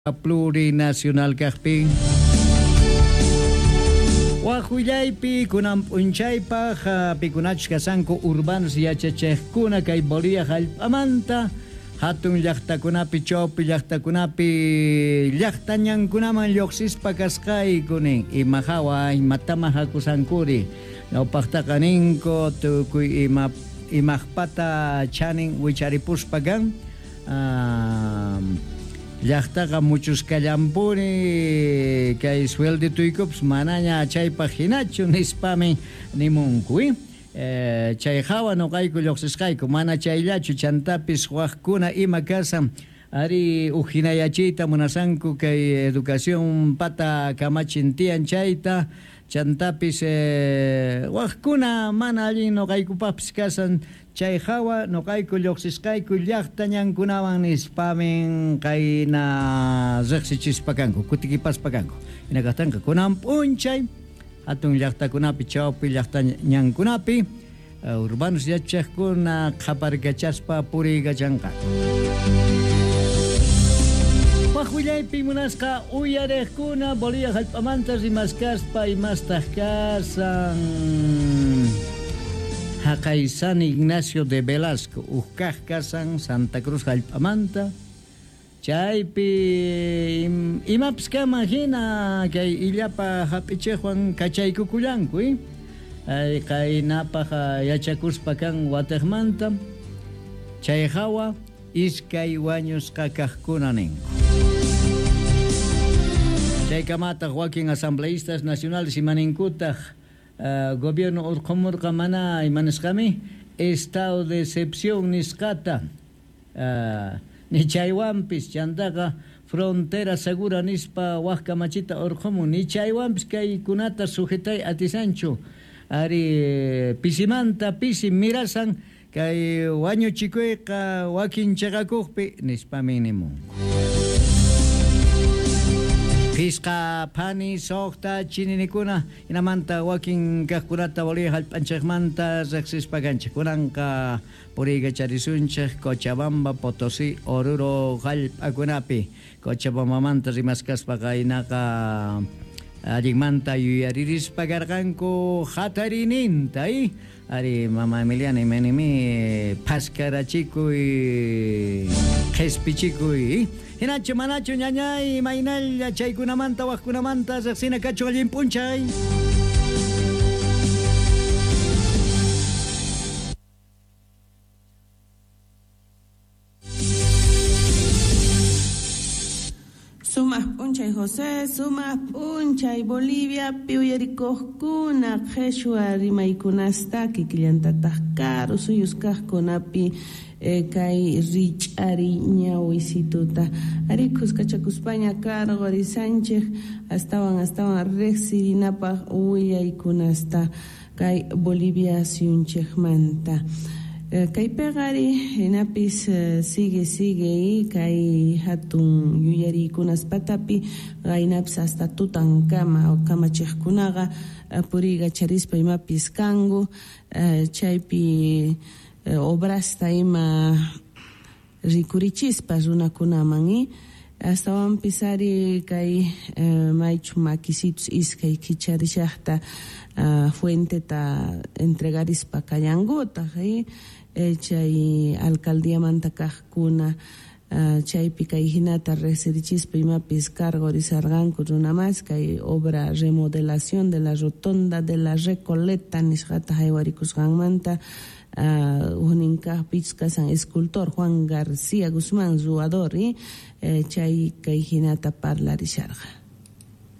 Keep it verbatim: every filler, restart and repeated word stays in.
Plurinacional kaqpin. Wajullaypi kunan p'unchaypaq pikunachus kasanku urbanos yachachiqkuna kay Bolivia hallp'amanta hatun llaqtakunapi chawpi llaqtakunapi llaqtañankunaman lluqsispa kasqayku nin ima hawa imatama hakusankuri ñawpaqtaqa ninku tukuy ima imaqpata chanin wicharipuspa kan llaqtaqa muchuskallanpuni kay sueldituykupas manaña chaypaq hinachu nispami nimunku eh, chay hawa nuqayku lluqsisqayku mana chayllachu chantapis waqkuna ima kasan ari ujinayachiyta munasanku kay educación pata kamachin tiyan chayta chantapis eh, waqkuna mana allin nuqaykupaqpis kasan chay hawa nuqayku lluqsisqayku llaqta ñankunawan nispamin qayna riqsichispa kanku kutikipaspa kanku hina kaqtanqa kunan p'unchay hatun llaqtakunapi chawpi llaqta ñankunapi urbanos yachaqkuna qhaparkachaspa puriykachanqa. Wajullaypi munasqa uyariqkuna Bolivia hallp'amanta rimaskaspa imastaq kasan haqay San Ignacio de Velasco uqkaq kasan Santa Cruz hallp'amanta chaypi imapis kaman hina kay illapa hap'ichiqwan kachaykukullanku ay qaynapaq yachakuspa kan watiqmanta chay hawa iskay wañusqa kaqkuna ninku. Chaykamataq wakin asambleístas nacionales imaninkutaq uh, gobierno urqumurqa mana imanisqami estado de excepción nisqata uh, ni chaywanpis chantaqa frontera segura nispa waq kamachita urqumun ni chaywanpis kaykunata sujetay atisanchu ari pisimanta pisi mirasan kay wañuchikuyqa wakin chaqakuqpi nispami nimunku. Pisqa phani suqta chininikuna hinamanta wakin kaqkunata Bolivia hallp'anchikmanta riqsispa kanchik kunanqa puriykacharisunchik Cochabamba, Potosí, Oruro hallp'akunapi Cochabambamanta rimaskaspa qaynaqa allinmanta yuyaririspa karqanku hatarininta ari mama Emiliana imanimi phaskarachikuy qhispichikuy hinachu manachu ñañay maynalla chaykunamanta waqkunamanta riqsina kachu allin p'unchay. Sumaq p'unchay José, sumaq p'unchay Bolivia uyarikuqkuna qheshwa rimaykunasta kikillantataq karu suyus kaqkunapi eh, kay rich'ari ñawisituta ari khuskachakuspaña cargo risanchik astawan astawan riqsirinapaq willaykunasta kay Bolivia suyunchikmanta. Kaypiqa ari hinapis sigue sigue kay hatun yuyariykunaspatapi qaynapis hasta tutankama kamachiqkunaqa puriykacharispa imapis kanku chaypi obrasta ima rikurichispa runakunaman astawanpis ari kay maychu makisitus iskay kicharishaqta fuenteta entregarispa kallankutaq chay alcaldiamanta kaqkuna chaypi kay hinata riqsirichispa imapis cargo risarqanku runamas kay obra remodelación de la rotonda de la Recoleta nisqata haywarikusqanmanta huknin kaqpis kasan escultor Juan García Guzmán ruwador chay kay hinata parlarisharqa.